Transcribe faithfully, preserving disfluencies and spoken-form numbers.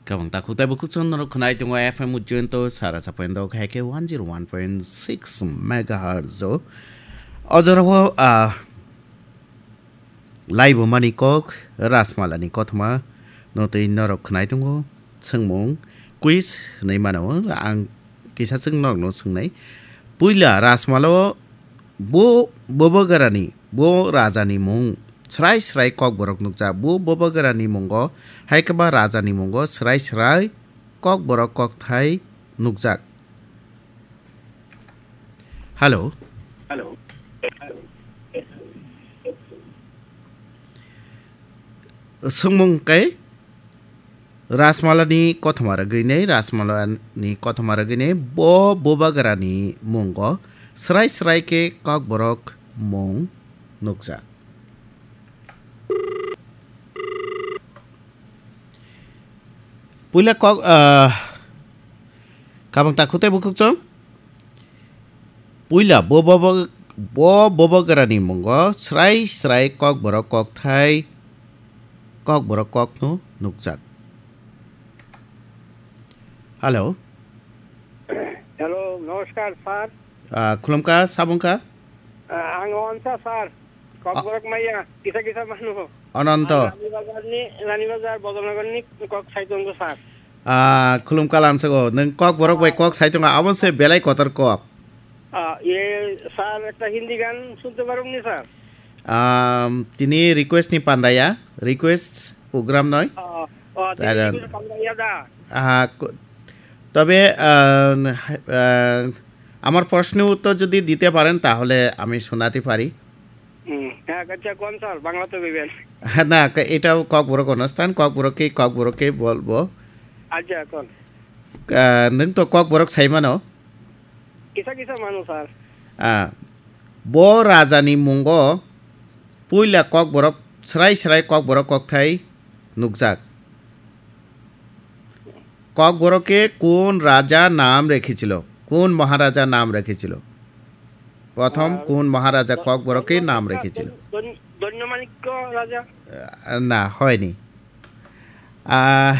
Kabang takhuk tei bukhuk chwng norok khwnai tongo F M Ujjainto sara sa point dok hai khe one zero one point six megahertz o. O jorao, ah, laibumani kok Rajmalani kothoma no tei norok khwnai tongo. Swngmung quiz hwnwi mano ang kisa chwng norokno swngnai. Puila Rajmalo bo bobogarani, bo rajani mung srai srai kokborok nukjak. Bo bobogarani mungo hai khe ba rajani mungo srai srai kokborok kokthai nukjak. Hello. Swngmung khe Rajmalani kothoma rwgwinai, Rajmalani kothoma rwgwinai bo bobagrani mungo srai srai khe kokborok mung nukjak. Puila kok, ah, kabang takhuk tei bukhuk chwng. Puila bo bobo, bo bobogarani mungo srai srai kokborok kokthai, kokborok kokno nukjak. Hello. Hello, namaskar, sir. Ah, khulumkha, sabungkha? Ah, ang Onsa, sir. Kokborok maya, kisa kisa manu. Ananto. Ang Rani Bazar ni, Rani Bazar, Bodolnagar ni kok sai tongo, sir. Ah, khulumkha lamsago. Nwng kokborok bai kok sai tongo, abo se belai kotor kok. Ah, ye, sir, ekta Hindi gan sunte parobni, sir? Um, tini request ni pandaya, request program noi. Oh, oh, tini Taran. Request pandaya da. Ah, ko-, তবে, আহ, আহ, আমার প্রশ্নের উত্তর যদি দিতে পারেন, তাহলে আমি শোনাতে পারি। হুম, হ্যাঁ, আচ্ছা, কোন স্যার? বাংলাতে কইবেন। না, কা-, এটাও ককবরক অনুষ্ঠান, ককবরকে, ককবরকে বলবো। আচ্ছা, কোন? আহ, নং তো ককবরক সাইমানো। কিসা কিসা মানুষ, স্যার? আহ, bo rajani mungo puila kokborok srai srai kokborok kokthai nukjak. ককবরকে কোন রাজা নাম রেখেছিল? কোন মহারাজা নাম রেখেছিল? প্রথম আহ, কোন মহারাজা দ-, ককবরকে নাম দৈন্য-, রেখেছিল? দৈন্য-, দৈন্যমাণিক্য রাজা। আহ, না, হয়নি। আহ,